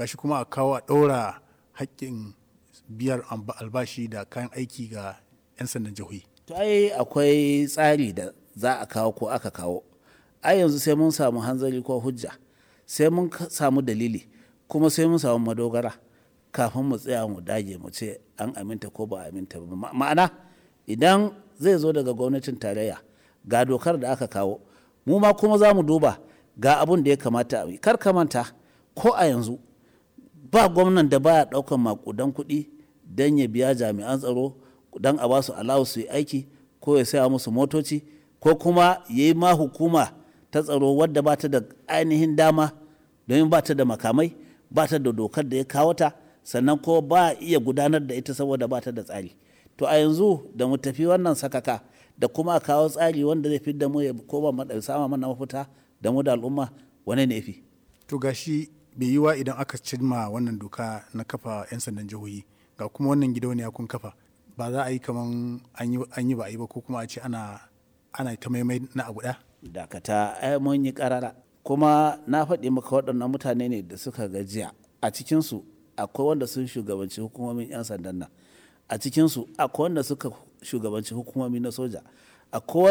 Gashi kuma a kawo a ɗaura haƙƙin biyar albashi da kayan aiki ga 'yan sandan jihohi. To ai akwai tsari da za a kawo ko aka kawo. Ai yanzu sai mun samu hanzari ko hujja, sai mun samu dalili, kuma sai mun samu madogara kafin mu tsaya mu dage mu ce an aminta ko ba a aminta ba. Ma'ana idan zai zo daga gwamnatin tarayya ga dokar da aka kawo, mu ma kuma za mu duba ga abun da ya kamata a yi. Kar ka manta ko a yanzu ba gwamnan da baya daukan makudan kuɗi don ya biya jami'an tsaro, don a basu alawu su yi aiki, ko ya saya musu motoci, ko kuma ya yi ma hukuma ta tsaro wadda ba ta da ainihin dama, domin ba ta da makamai, ba ta da dokar da ya kawo ta, sannan ko ba iya gudanar da ita saboda ba ta da tsari. To a yanzu da mu tafi wannan sakaka da kuma a kawo tsari wanda zai fidda mu ya koma sama mana mafita da mu da al'umma, wane ne fi? To gashi bai yiwa idan aka cimma wannan doka na kafa 'yan sandan jihohi, ga kuma wannan gidauniya kun kafa, ba za a yi kaman an yi ba a yi ba, ko kuma a ce ana ta maimai na abu ɗaya? Dakata, ai mun yi karara, kuma na faɗi maka waɗannan mutane ne da suka gajiya. A cikinsu akwai wanda sun shugabanci hukumomin 'yan sandan nan, a cikinsu akwai wanda suka shugabanci hukumomi na soja, akwai wanda